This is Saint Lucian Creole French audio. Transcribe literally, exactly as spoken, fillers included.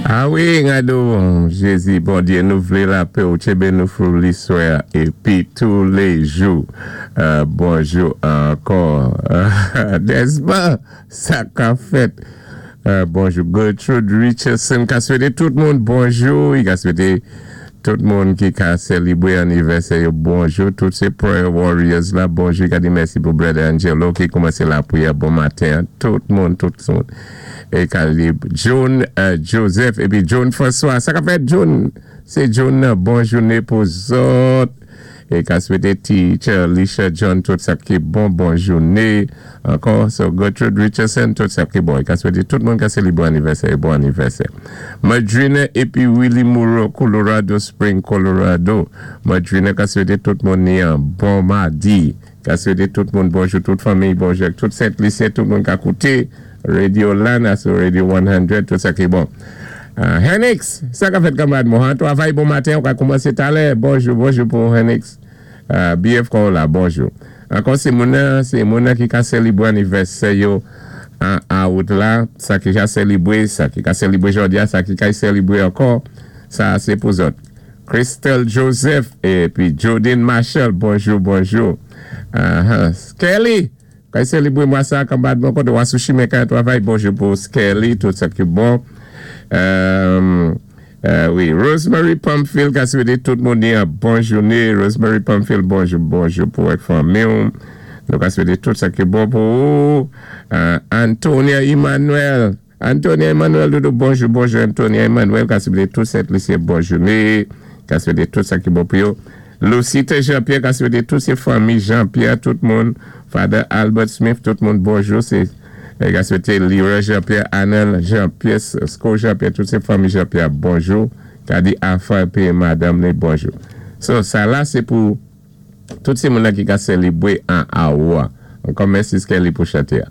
A wi, gadon, Jézi, Bondyé, nou vlé lapè ou tjenbé nou fou liswè épi touléjou. Euh, bonjou ankò. Desma, sa ka fèt. Euh, bonjou Gertrude Richardson, ka swété tout moun bonjou. I ka swété tout moun ki ka sélibwé anivèsè yo bonjou. Tout sé prayer warriors la, bonjou. Ka di mèsi pou Brother Angelo ki koumansé lapriyè bon maten. Tout moun, tout moun. É ka di John euh, Joseph épi John François. Sa ka fèt John? Sé John, bon jouné pou zòt. É ka swété teacher Alicia John tout sa ki bon, bon jouné. Ankò, so Gertrude Richardson, tout sa ki bon. É ka swété tout moun ka sélibwé anivèsè, bon anivèsè. Madrina épi Willie Moreau, Colorado Spring, Colorado. Madrina ka swété tout moun ni an bon madi. Ka swété tout moun bonjou, tout fanmi, bonjou, tout Sent Lisyen, tout moun ka kouté Radio Lana sou Radio san, tout sa ki bon. Uh, Henix, sa ka fèt kanmarad mwen, travay bon maten, ou ka koumansé talè, bonjou, bonjou pou Henix. Uh, B F kon la, bonjou. Ankò sé moun sé moun ki ka sélibwé anivèsè yo an awout la, sa ki ka sélibwé, sa ki ka sélibwé jòdi a, sa ki ka sélibwé ankò, sa sé pou zòt. Crystal Joseph épi Jodine Marshall, bonjou, bonjou. Uh -huh. Kelly, ka sélibwé mwa sa, kanmarad mwen koté ou sou chimen ka travay, bonjou pou Kelly, tout sa ki bon. Euh, euh, wi, Rosemary Pamphile, ka swété tout moun yon bon jouné. Rosemary Pamphile, bonjou, bonjou pou ak fanmi. Nou ka swété tout sa ki bon pou ou. Euh, Antonia Emmanuel. Antonia Emmanuel, doudou, bonjou, bonjou Antonia Emmanuel, ka swété tout Sent Lisyen bon jouné. Ka swété tout sa ki bon pou yo. Lucita Jean-Pierre, ka swété tout sé fanmi Jean-Pierre, tout moun. Father Albert Smith, tout moun bonjou. Sé ka swété Leroy Jean-Pierre, Anel Jean-Pierre, Sko Jean-Pierre, tout sé fanmi Jean-Pierre, bonjou. Ka di anfan épi madanm ni bonjou. So, sa la sé pou tout sé moun ki ka sélibwé an awou. Ankò mèsi Kelly pou chanté.